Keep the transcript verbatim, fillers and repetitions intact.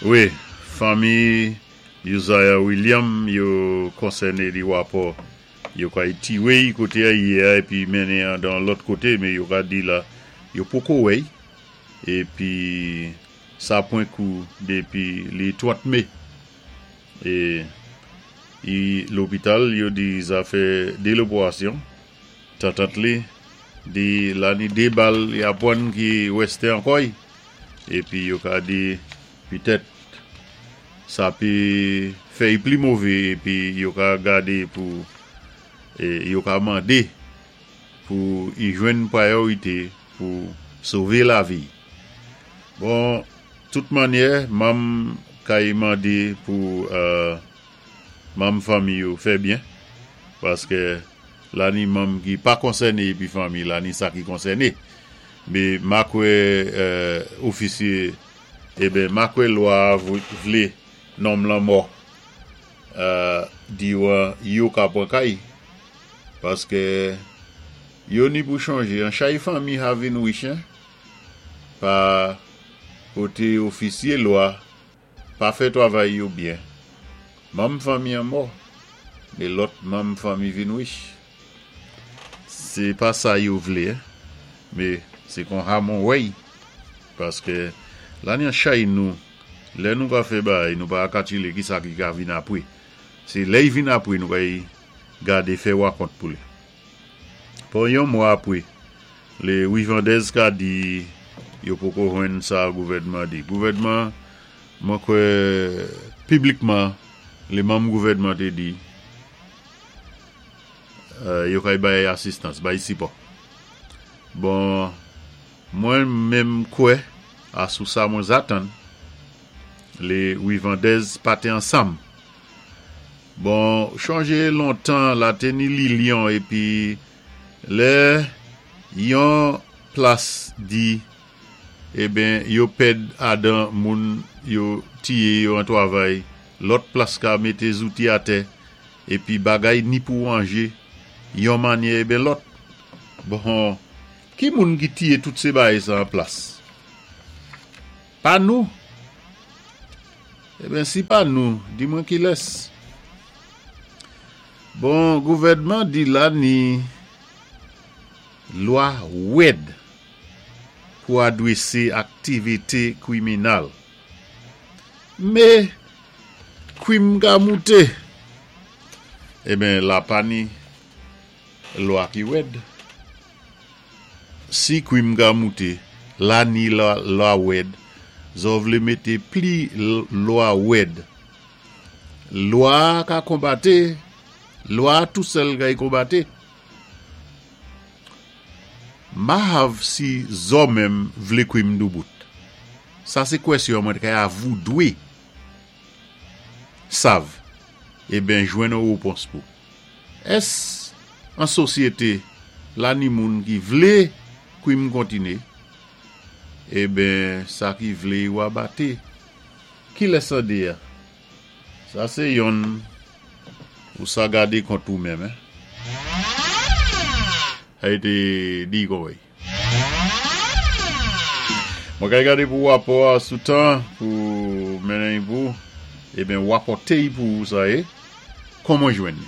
Wi, fanmi Uzziah William yo konsèné di wapò yo kay tiwé koté a yé épi mennen dan lòt koté, mé yo ka di la yo poko wè épi sa pwan kou dépi lé trant mé. É i lopital yo di sa fè dé lopérasyon. Tantant li di la ni dé bal ya pwan ki wèsté ankò épi yo ka di pitèt sa pi fè pli mové épi yo ka gadé pou é yo ka mandé pou y jwenn pwayorité pou sové lavi. Bon, tout mannyè, manm kay mandé pou euh, manm fanmi yo fè byen paské la ni manm ki pa konsèné épi fanmi la ni sa ki konsèné. Mé ma kwè euh, ofisyé eben ma kwè lwa vlé nonm lan mò euh, di yo ka pwan kay paské yo ni pou chanjé an chay fanmi ha vin wich pa koté ofisyé lwa pa fè twavay yo byen. Manm fanmi an mò, mé lòt manm fanmi vin wich. Sé pa sa yo vlé, mé sé kon ha mwen wè'y. Paské la ni an chay nou, lè nou ka fè bay, nou pa kalkilé ki sa ki ka vin apwé. Sé lè y vin apwé nou kay gadé fè wakont pou li. Bon yon mwa apwé, lé Wivandez ka di yo poko jwenn sa gouvèdman di. Gouvèdman, mwen kwè piblikman, lé manm gouvèdman té di euh, yo kay bay asistans, bay sipò. Bon, mwen menm kwè, asou sa mwen zatan, lé Wivandez pa té ansanm. Bon, chonjé lontan la té ni Lilian épi lè yon plas di eben yo pèd adan moun yo tiyé yo an twavay, lòt plas ka mété zouti atè épi bagay ni pou wanjé yon mannyè eben lòt. Bon, ki moun ki tiyé tout sé bagay sa an plas? Pa nou. Eben si pa nou, di mwen kilès. Bon, gouvèdman di la ni lwa wèd pou adwésé aktivité kwiminal. Mé kwim ka mouté. Eben la pa ni lwa ki wèd. Si kwim ka mouté, la ni lwa wèd, zo vlé mété pli lwa wèd. Lwa ka konbaté, lwa tou sèl kay konbaté. Ma hav si zo menm vlé kwim doubout. Sa sé kwèsyon mwen kay avou dwé sav eben jwenn yon wopons pou. Ès an sosyété la ni moun ki vlé kwim kontiné, eben sa ki vlé wa baté. Ki lè sa dé ya? Sa sé yon ou sa gadé kont ou menm. A été di kon wèy. Mwen kay gadé pou wapò a sou tan pou mennen pou, eben wapòté pou sa é, kon mwen jwenn ni.